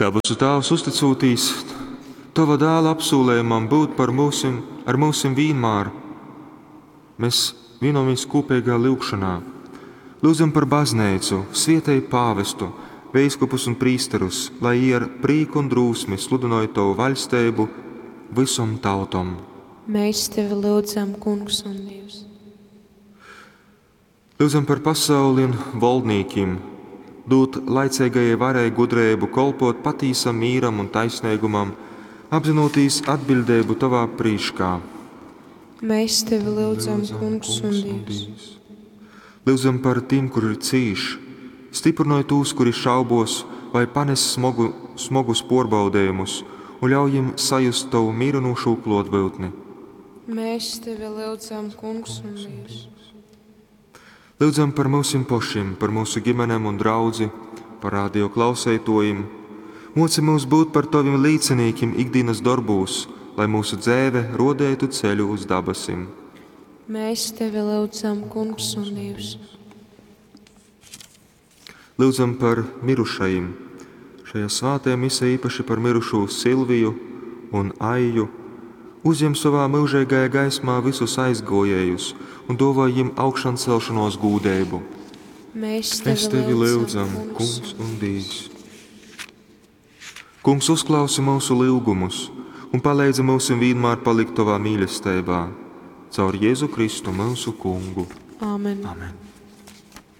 Dabasu Tāvs, uzticūtīs Tova dāla apsūlejumam būt par myusim, ar myusim vīnmār, mēs vīnojamies kūpeigā lyugšonā. Lyudzam par bazneicu, svietej pāvestu, veiskupus un prīsterus, lai jī ar prīku un drūsmi sludynoj Tovu vaļsteibu vysom tautom. Mēs tevi lyudzam, Kungs un Dievs. Lyudzam par pasauli un voldnīkim, dūd laiceigajai varai gudreibu kolpōt patīsam mīram un taisneigumam, apzynūtīs atbiļdeibu Tovā prīškā. Mēs tevi lyudzam, Kungs un Dievs. Lyudzam par tim, kuri cīš, styprynoj tūs, kuri šaubos vai panes smogu, smogus puorbaudejumus, un ļauj jim sajust Tovu mīrynūšū kluotbyutni. Mēs tevi lyudzam, Kungs un Dievs. Lyudzam par myusim pošim, par myusu ģimenem un draudzi, par radio klauseituojim. Muoci myus būt par Tovim līcinīkim ikdīnas dorbūs, lai mūsu dzeive ruodeitu ceļu uz dabasim. Mēs tevi lyudzam, Kungs un Dievs. Lyudzam par mirušajim. Šajā svātajā misē īpaši par mirušū Silviju un Aiju. Uzjem sovā myužeigajā gaismā visus aizgojējus un duovoj jim augšancelšanos gūdeibu. Mēs Mēs tevi tevi lyudzam, Kungs un Dievs. Kungs, uzklausi mūsu lyugumus un paleidzi mūsim vienmēr palikt Tovā mīlestībā. Caur Jēzu Kristu mūsu Kungu. Āmen. Amen.